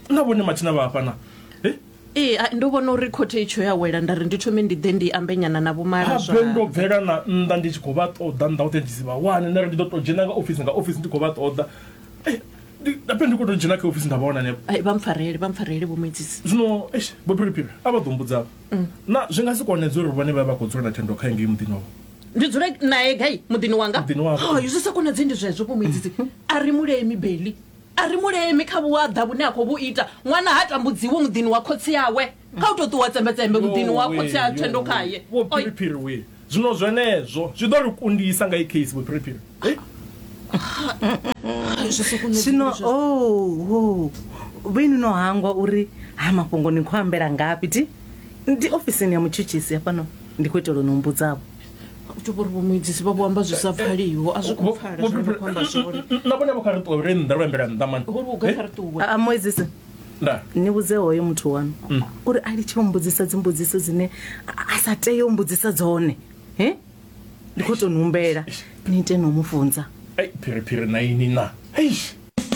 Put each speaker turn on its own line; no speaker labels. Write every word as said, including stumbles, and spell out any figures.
Na vhone mathina vha hafha na? Eh?
Ee, a- ndo vhona uri khothe itsho ya wela, nda ri ndi thome ndi ḓe ndi ambe nyana na vhomala.
Habe ndo bvela na nnḓa ndi tshi khou vha ṱoḓa nnḓa hoṱhe ndi si vha wane, nda ri ndi ḓo tou dzhena nga ofisi nga ofisi ndi khou vha ṱoḓa. Eh, ndi- habe ndi khou tou dzhena kha ofisi nda vha wana hanefho.
Ai, vha mpfarele, vha mpfarele vho Muedzisi.
Zwino eish, vho Phiriphiri a vha ḓo mbudza na zwi nga si konedze uri vhone vha vha khou dzula na Thendo kha ngei muḓini wavho?
Ndi dzule nae gai muḓini wanga?
Muḓini wavho.
Hai, zwi sa konadzei ndi zwezwo vho Muedzisi. A ri mulemi beli, a ri mulemi kha vhuaḓa vhune a khou vhu ita. Ṅwana ha tambudziwi muḓini wa khotsi awe, kha u tou ṱuwa tsembetsembe muḓini wa khotsi a Thendo khaye.
Vho
Oi.
Phiriphiri we, zwino zwenezwo zwi ḓo ri kundisa nga i case, vho Phiriphiri. Eh?
Hai, zwi sa konadzei
Zwino
ndi zwezwo.
oh, oh. Vhoinwi no hangwa uri ha mafhungo ni khou ambela ngafhi? Ti ndi ofisini ya mutshutshisi hafhano, ndi khou itela u no mbudzavho.
U tou vhori vho Muedzisi vha vho amba zwi sa pfaliho, a zwi khou pfala
Vho
zwine vha khou amba zwone.
Na vhone vho kha ri ṱuwe ri nnḓa ro ambela nnḓa mani.
Hori u gai? Kha ri ṱuwe.
A Muedzisi,
Nda.
ni vhudze hoyo muthu wanu uri a litshe u mbudzisa dzimbudziso dzine a a sa tee u mbudzisa dzone. He, ndi khou tou ni humbela ni ite no mu funza.
Ei, Phiriphiri na ini na. Eish.